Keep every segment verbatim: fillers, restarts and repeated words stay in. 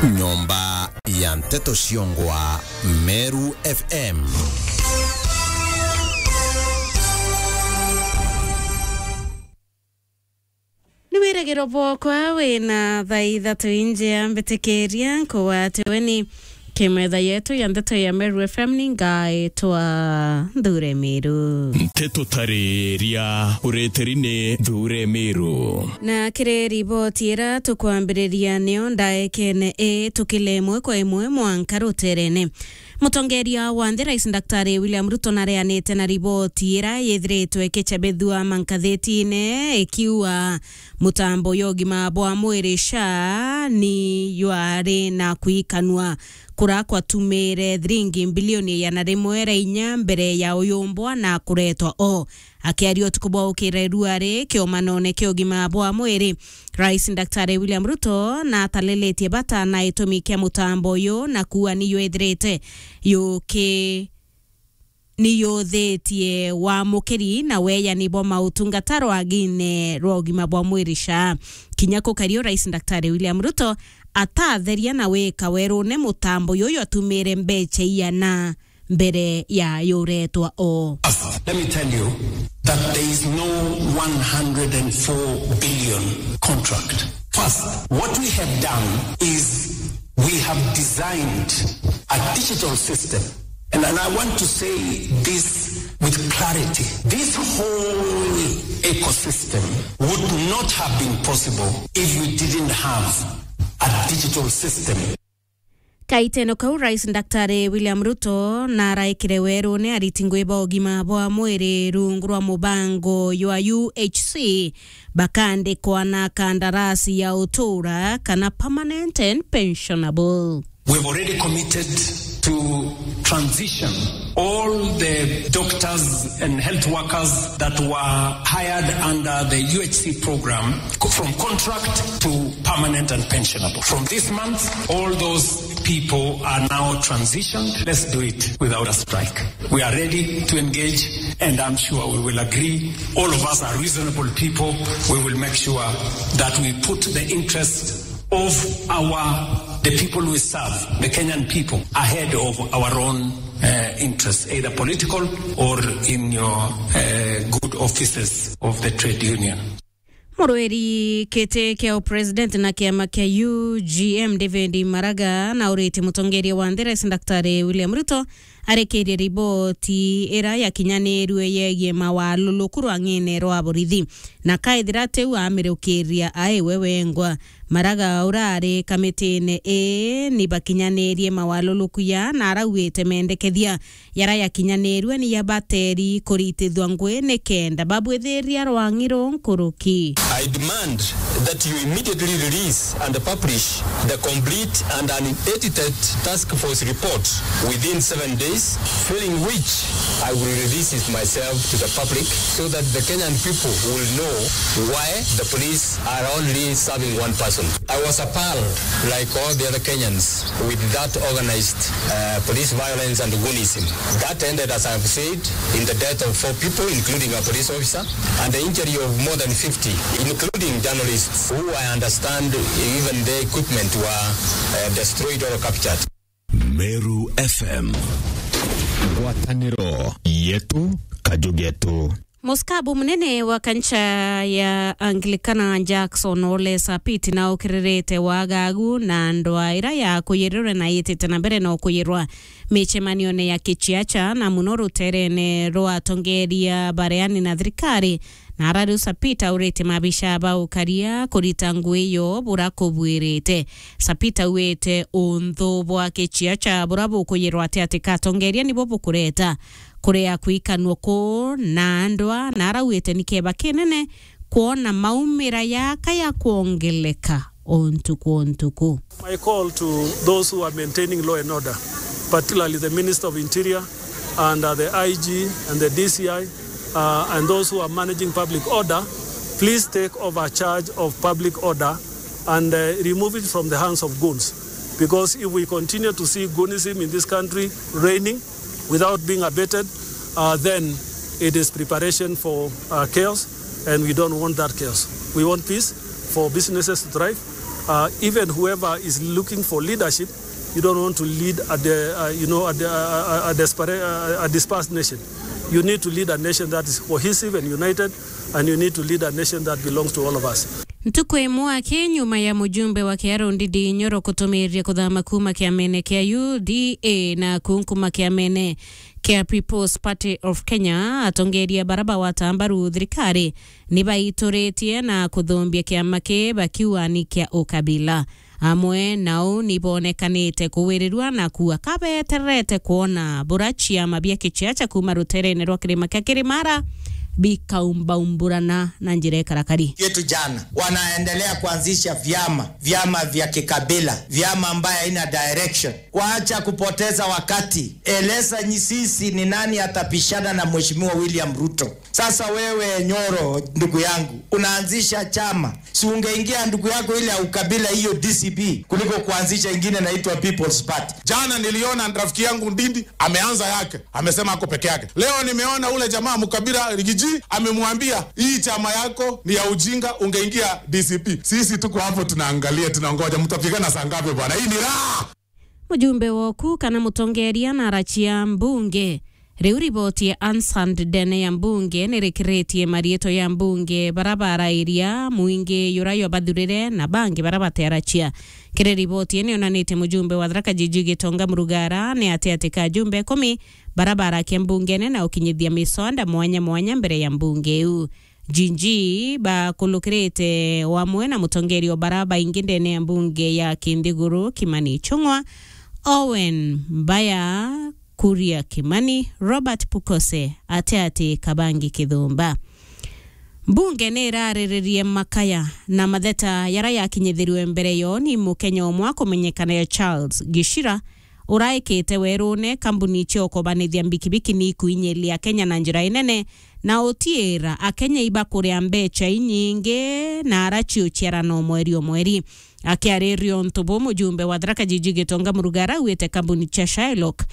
Nyomba ya nteto ciongwa Meru F M. Ni wiragiro bwokwa wina thaa ithatu injia mbitikiria nkugwate weni kimetha yetu ya nteto ya Meru F M ni ngaitwa Nthure Miru. Nteto tariria ureteri ni Nthure Miru. Na kiri riboti ira tukwambiriria nio ndaekene i tukile imwe kwa imwe mwanka ruterene. Mutongeria wa nthi Rais Daktari William Ruto nareanite na riboti ira yithiritwe ikicabithua mankathetine ikiuga mutambo ya ugima bwa mwiri SHA ni yari na kwikanua kura kwatumire thiringi mbilioni igana rimwe ra inya mbere ya uyumbwa na kuretwa o. Akiaria utuku bwa ukira iruari kiomanone kia ugima bwa mwiri, Rais Daktari William Ruto natalilitie bata na itumi kia mutambo uyu na kuua ni yethirite yuki ni yuthitie wamukiri na weyani bwa mautungata rwagine rwa ugima bwa mwiri SHA. Kinya kukario Rais Daktari William Ruto atatheria na wika werune mutambo uyu atumire mbecha iana mbere ya yuretwa o. First, let me tell you that there is no one hundred and four billion contract. First, what we have done is we have designed a digital system. And, and I want to say this with clarity. This whole ecosystem would not have been possible if we didn't have a digital system. Kaiteno kau, Rais Daktari William Ruto naraikire werune ariti ngui ba ugima bwa mwiri rungu rwa mubango jwa U H C bakandikwa na kandarasi ya utura kana permanent and pensionable. We've already committed to transition all the doctors and health workers that were hired under the U H C program co-, from contract to permanent and pensionable. From this month, all those people are now transitioned. Let's do it without a strike. We are ready to engage, and I'm sure we will agree. All of us are reasonable people. We will make sure that we put the interest of our, the people we serve, the Kenyan people, ahead of our own, uh, interests, either political or in your, uh, good offices of the trade union. Murwiri kiti kia upresident na kiama kia U G M David Maraga nauritie mutongeria wa nthi Rais Daktari William Ruto arekerie riboti ira yakinyanirue yegie mawaluluku rwang'ine rwa borithi, na kaithira tiu amirukiria aiwe wengwa. Maraga urari kamitine ii ni bakinyanirie mawaluluku ya na arauite mendekethia yara yakinyanirue ni ya bateri kuritithua ngui nikenda babwithiria rwang'i ru nkuruki. I demand that you immediately release and publish the complete and unedited task force report within seven days, failing which I will release it myself to the public so that the Kenyan people will know why the police are only serving one person. I was appalled, like all the other Kenyans, with that organized, uh, police violence and goonism. That ended, as I have said, in the death of four people, including a police officer, and the injury of more than fifty, including journalists, who I understand even their equipment were, uh, destroyed or captured. Meru F M. Ngwataniro yetu, kaju getu. Musikabu munene wa kanisa ya Anglikana Jackson Ole Sapit naukiririte wagagu na ndwaa ira ya kuyirirwe na yitite na mbere na ukuyirwa micemanione ya kiciaca na muno ruterene rwa atongeria bareani na thirikari. Na arari Sapit aurite mabisha ba ukaria kurita ngui iyo bura kubwirite. Sapit auite unthu bwa kiciaca bura bukuyirwa ati ati katongeria nibo bukureta kurea kwikanua kuu na ndwaa, na arauite ni kieba kinene kwona maumira yaka ya kwongeleka o ntuku o ntuku. My call to those who are maintaining law and order, particularly the Minister of Interior and, uh, the I G and the D C I, uh, and those who are managing public order, please take over charge of public order and, uh, remove it from the hands of goons. Because if we continue to see goonism in this country reigning, without being abated, uh, then it is preparation for, uh, chaos, and we don't want that chaos. We want peace for businesses to thrive, Uh, even whoever is looking for leadership, you don't want to lead a, de- uh, you know, a, de- uh, a, a, a, desperate, uh, a dispersed nation. You need to lead a nation that is cohesive and united, and you need to lead a nation that belongs to all of us. Ntuku imwe aki nyuma ya mujumbe wa Kiharu Ndindi Nyoro kutumiria kuthama kuuma kiamene kia U D A na kunkuma kiamene kia People's Party of Kenya, atongeria bara bagwata mbaru thirikari ni baituritie na kuthumbia kiama ki bakiuga ni kia ukabila. Amwe nao ni bonekanite kuwirirua na kuuga kabetererete kwona bura ciama bia kiciaca kuuma ruterene rwa kirima kia Kirimara bikaumbaumbũrana na njira ikarakari. Yetu jana wanaendelea kuanzisha vyama, vyama vya kikabila, vyama ambayo haina direction. Kuacha kupoteza wakati. Eleza nyi sisi ni nani atapishana na Mheshimiwa William Ruto. Sasa wewe Nyoro, ndugu yangu, unaanzisha chama. Si ungeingia ndugu yako ile ya ukabila hiyo D C P kuliko kuanzisha ingine inaitwa People's Party. Jana niliona rafiki yangu Ndindi ameanza yake, amesema ako peke yake. Leo nimeona ule jamaa Mkabila Rigiji amemwambia, "Hii chama yako ni ya ujinga, ungeingia D C P." Sisi tuko hapo tunaangalia, tunaongoja. Mtapigana saa ngapi bwana? Hii ni raha. Mujumbe woku kana mutongeria na arachia mbunge. Riu riboti ya Ansand ndene ya mbunge nirikiritie mariitwa ya mbunge bara barairia, mwingi jura jwabathurire na bangi bara batearachia. Kiri riboti ii nionanitie mujumbe wa Tharaka Jiji Gitonga Murugara ni ati ati ka ajumbe ikumi bara barakia mbungene na ukinyithia miswanda mwanya mwanya mbere ya mbunge iu. Jinji bakulukirite wamwe na mutongeria o bara baingi ndene ya mbunge ya Kinthiguru Kimani Ichung'wa, Owen Mbaya, Kuria Kimani, Robert Pukose, ati ati Kabangi Kithumba. Mbunge ni irariririe makaya na matheta yara yakinyithirwe mbere yo ni Mukenya umwe akumenyekana ya Charles Gishira, uraikite werune kambuni cia ukobanithia mbikibiki ni ikuinyiria Kenya na njira inene, na utiira Akenya ibakuria mbecha inyingi na arachiuchiarana o mweri o mweri. Akiariria untu buu, mujumbe wa Tharaka Jiji Gitonga Murugara augite kambuni cia Shylock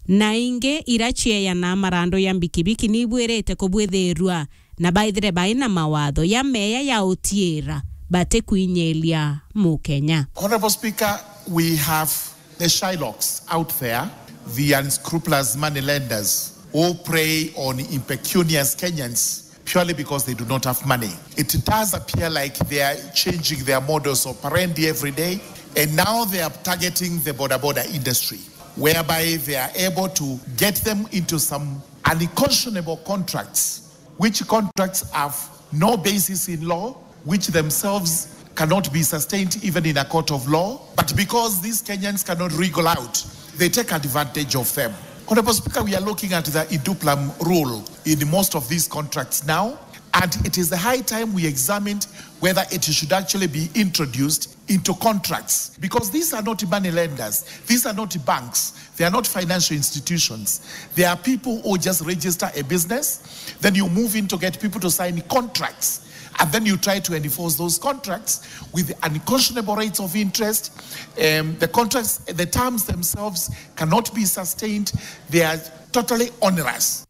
na ingi ira cieyanaa marando ya mbikibiki ni ibwirite kubwithirua na baithire baina mawatho ya meya ya utiira batikuinyiria Mukenya. Honorable Speaker, we have the Shylocks out there, the unscrupulous money lenders who prey on impecunious Kenyans purely because they do not have money. It does appear like they are changing their modus operandi every day, and now they are targeting the boda boda industry, whereby they are able to get them into some unconscionable contracts, which contracts have no basis in law, which themselves cannot be sustained even in a court of law. But because these Kenyans cannot wriggle out, they take advantage of them. Honorable Speaker, we are looking at the in duplam rule in most of these contracts now, and it is the high time we examined whether it should actually be introduced into contracts, because these are not money lenders, these are not banks, they are not financial institutions. They are people who just register a business, then you move in to get people to sign contracts, and then you try to enforce those contracts with unconscionable rates of interest. Um, the contracts, the terms themselves cannot be sustained. They are totally onerous.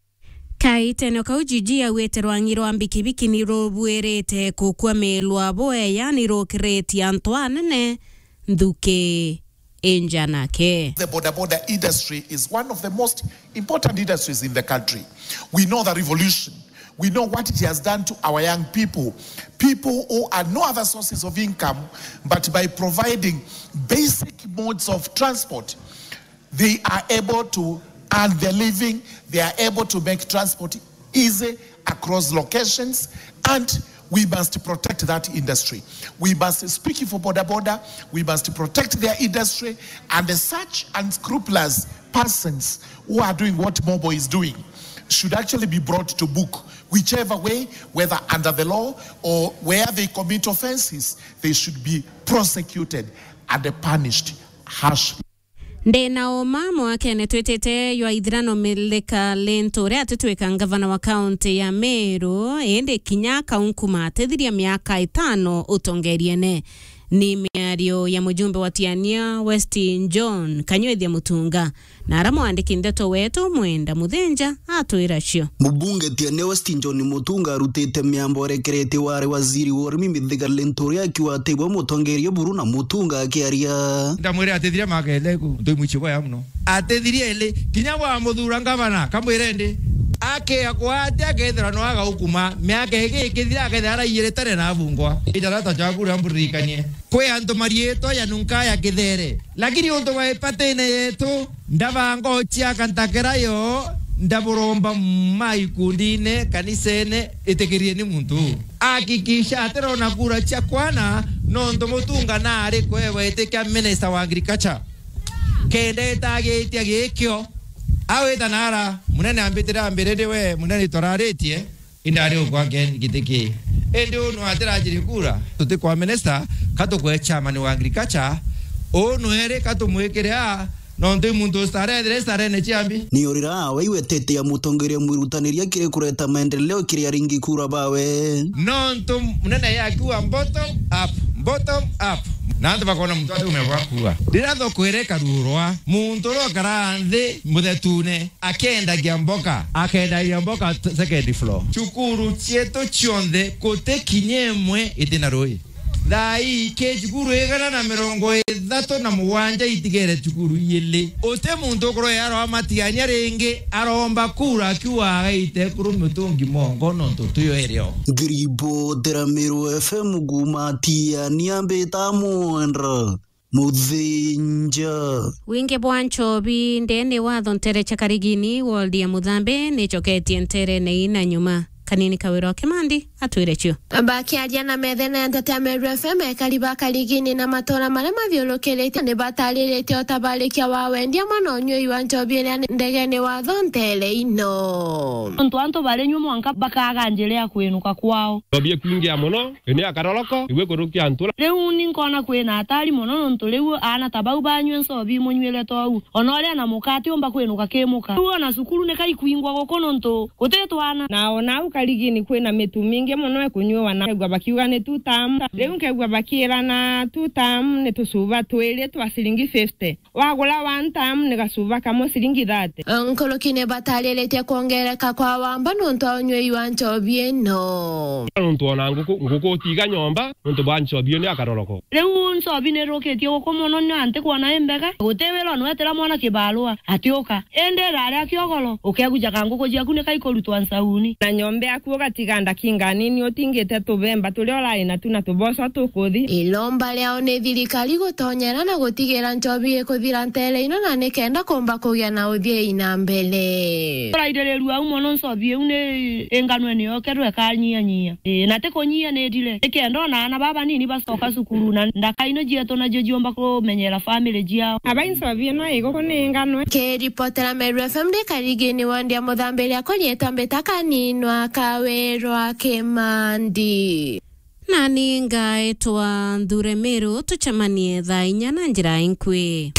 Kaitenio kau Jiji augite rwangi rwa mbikibiki ni rubuirite kukwamilwa bweya ni rukiritie antu anene nthuki injanake. The boda boda industry is one of the most important industries in the country. We know the revolution. We know what it has done to our young people. People who had no other sources of income but by providing basic modes of transport, they are able to earn their living, they are able to make transport easy across locations, and we must protect that industry. We must speak for boda boda, we must protect their industry, and such unscrupulous persons who are doing what Mobo is doing should actually be brought to book, whichever way, whether under the law or where they commit offences, they should be prosecuted and punished harshly. Ndi na uma mwakene twitite jwa ithirano Milika Lintu uria atitwika ngavana wa kaunti ya Meru, indi kinya kaunkuma atithiria miaka itano utongeriene. Ni miario ya mujumbe wa Tiania West John Kanywethia Mutunga, na ara mwandiki ndeto wetu Mwenda Muthenja atwira cio. Mubunge Tiania West John Mutunga arutite miambo erekeretie wari waziri wa urimi Mithika Linturi akiuga ati we mutongeria buru na Mutunga akiaria. Ndamwire atithire makele ku, ntui mwichi bwa ya muno. Atithirie ili, kinya bwa muthura ngavana, kamwire ndi, akea kwa ati akethira no agaukuma, miaka ingi ikithira akethira araiyire tene na abungwa. Itarata jaku ria mburirikanie. Kwi antu mariitwa ya nunka ya kithere. Lakini untu bwa ipatine yetu, ndabanga uciaka ntakera yo, ndaburomba ma ikundine, kanisene, itikirie ni muntu. Hakikisha atirona kura cia kwana, nontu Mutunga nari kwewa itikia minister wa agriculture. Kenda itagitia gikio. Awita nara, munene ambitire ambire ndi we, munene itwararitie, indari ukwa Ken giti ki. Indi unu atirajiri kura, tutikwa minister, katukwe chairman wa agriculture, unu eri katumwikire a, nontu i muntu ustarethire starene ciambi. Ni urira awe iwetete ya mutongeria mwirutaniria kiri kureta maendeleo kiri aringi kura bawe. Nontu munene yakiuga bottom up, bottom up. Na antu bakona muntu ati umegwa kuuga. Rira thoko ire karurwa, muntu uria ukara nthi muthetune, akendagia mboka, akendagia mboka t-, second floor. Cukuru cietu cionthe guti kinya imwe itina rui. Thaa ii ki cukuru igana na mirongo ithatu na mugwanja itigere cukuru iili. Uti muntu ukurwe aroa matiania ringi, aromba kura akiuga agaite kuru mutungi mongo nontu tuyo irio. Ngiribotera Meru F M kuma Tiania mbita Mwendra Muthinja. Wingi bwa nchobi ndene wa thontere cha Karigini, ward ya Muthambe, nichoketie nterene ina nyuma. Kanini Kawira wa Kimandi atwire cio. Bakiaria na methene ya nteto ya Meru F M, ekari ba Karigini na matura maria mathiurukiritie ni batariritie utabarikia wa wendia amwe na unyui wa nchobi iria ndegene wa thontere ino. Nontu antu bari nyua mwanka bakaga njira ya kwinuka kwao. Nchobi ikwingia mono, ini akaroroko, igwe kurukia ntura. Riu ni nkona kwina atari mono nontu riu aana ta bau banyue nchobi imunyuire tou. Ona uria na muka atiumba kwinuka ki muka. Riu ona cukuru ni kaikwingwa guku nontu guti twana. Na ona au Karigini kwina mitu mingi mono ikunyuwa na ngwa bakiuga ni two term. Riu nkegua bakiirana two term ni tucuba twiri twa ciringi fifty. Wagura one term ni gacuba kamwe ciringi thirty. Nkuruki ni batariritie kwongereka kwa wamba nontu wa unyui wa nchobi ino. Nontu ona nguku, nguku utiga nyomba, nontu bwa nchobi iyo ni akaroroko. Riu nchobi ni irukitie guku mono, ni anti kwona imbega. Guti wira unwetera mwana kibarua, atiuka. Indi irari akiogoro, ukeguja ka nguku ciaku ni kaikurutwa nsauni. Na nyomba yaku ugatiga ndakinga nini utingite tubemba turia urai natu na tuboco tukuthi. Ilomba riao ni thirikari gutonyera na gutigira nchobi ikuthira ntere ino na nikenda kumba kugia na uthii na mbere. Urairirua au mono nchobi iu ni inganwe ni yokerwe ikanyianyia. Ii, na ti kunyia ni ndire. Nikenda ona aana baba nini bacoka cukuru na ndaka ino cietu nacio ciumba kumenyera family ciao. Aba inchobi ino iguku ni inganwe. Kiripotera Meru F M ndi Karigini ward ya Muthambiria konyeta mbita kaninwa Kawirwa Kimandi. Nani ngaetwa Nthure Meru, tucemanie thaa inya na njira inkui.